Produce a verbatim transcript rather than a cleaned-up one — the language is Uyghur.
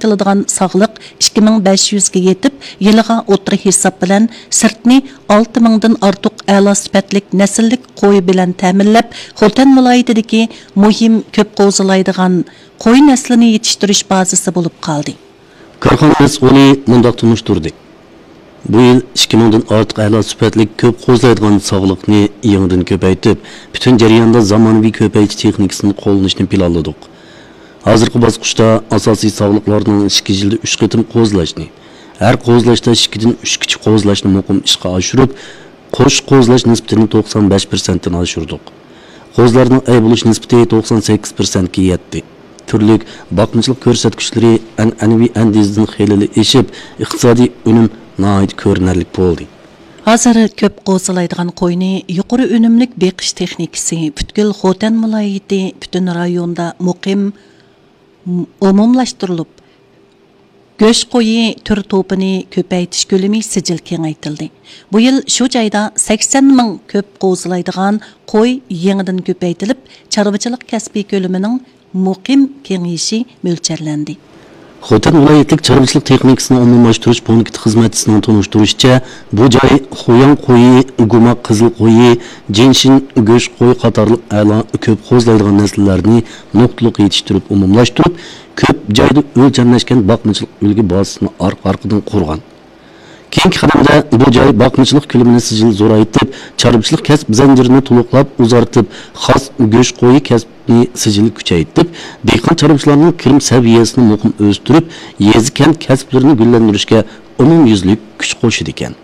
قىلىدىغان ساغلىق ئىككى مىڭ بەش يۈزگە يېتىپ، يىلىغا ئوتتۇرا ھېساب بىلەن سىرتنى ئالتە مىڭدىن ئارتۇق ئەلا سۈپەتلىك نەسىللىك قوي بىلەن تەمىنلەپ، خوتەن ۋىلايىتىدىكى مۇھىم كۆپ قوزىلايدىغان قوي نەسلىنى يېتىشتۈرۈش بازىسى بولۇپ قالدى. كارخانا مەسئۇلى مۇنداق تونۇشتۇردى: بۇ يىل ئىككى مىڭدىن ئارتۇق ئەلا سۈپەتلىك كۆپ قوزىلايدىغان ساغلىقنى يېڭىدىن كۆپەيتىپ، پۈتۈن جەرياندا زامانىۋى كۆپەيتىش تېخنىكىسىنى قوللىنىشنى پىلانلىدۇق. ھازىرقى باسقۇچتا ئاساسىي ساغلىقلارنىڭ ئىككى يىلدا ئۈچ قېتىم قوزىلاشنى، ھەر قوزىلاشتا ئىككىدىن ئۈچ كىچىك قوزىلاشنى مۇقىم ئىشقا ئاشۇرۇپ، قوش قوزىلاش نىسبىتىنى توقسان بەش پىرسەنتتىن ئاشۇردۇق. قوزىلارنىڭ ئەي بولۇش نىسبىتى توقسان سەككىز پىرسەنتكە يەتتى. تۈرلۈك باقمىچىلىق كۆرسەتكۈچلىرى ئەنئەنىۋى ئەندىزىدىن خېلىلا ئېشىپ، ئىقتىسادىي ئۈنۈم ناھايىتى كۆرۈنەرلىك بولدى. ھازىر كۆپ قوزىلايدىغان قوينى يۇقىرى ئۈنۈملۈك بېقىش تېخنىكىسى پۈتكۈل خوتەن ۋىلايىتى پۈتۈن رايوندا مۇقىم ئومۇملاشتۇرۇلۇپ، گۆش قويى تۈر توپىنى كۆپەيتىش كۆلىمى سىجىل كېڭەيتىلدى. بۇ يىل شۇ جايدا سەكسەن مىڭ كۆپ قوزىلايدىغان قوي يېڭىدىن كۆپەيتىلىپ، چارۋىچىلىق كەسپى كۆلىمىنىڭ مۇقىم كېڭىيىشى مۆلچەرلەندى. خوتەن ۋىلايەتلىك چارۋىچىلىق تېخنىكىسىنى ئومۇملاشتۇرۇش پونكىتى خىزمەتچىسىنىڭ تونۇشتۇرۇشىچە، بۇ جاي خۇياڭ قويى، گۇما قىزىل قويى، جىنشىن گۆش قوي قاتارلىق ئەلا كۆپ قوزىلايدىغان نەسىللەرنى نۇقتىلىق يېتىشتۈرۈپ ئومۇملاشتۇرۇپ، كۆپ جايدا ئۆلچەملەشكەن باقمىچىلىق ئۈلگە بازىسىنى ئارقا-ئارقىدىن قۇرغان. كېيىنكى قەدەمدە بۇ جاي باقمىچىلىق كۆلىمىنى سىجىل زورايتىپ، چارۋىچىلىق كەسىپ زەنجىرىنى تولۇقلاپ ئۇزارتىپ، خاس گۆش قويى كەسپىنى سىجىل كۈچەيتىپ، دېھقان چارۋىچىلارنىڭ كىرىم سەۋىيەسىنى مۇقىم ئۆستۈرۈپ، يېزا كەنت كەسىپلىرىنى گۈللەندۈرۈشكە ئومۇميۈزلۈك كۈچ قوشىدىكەن.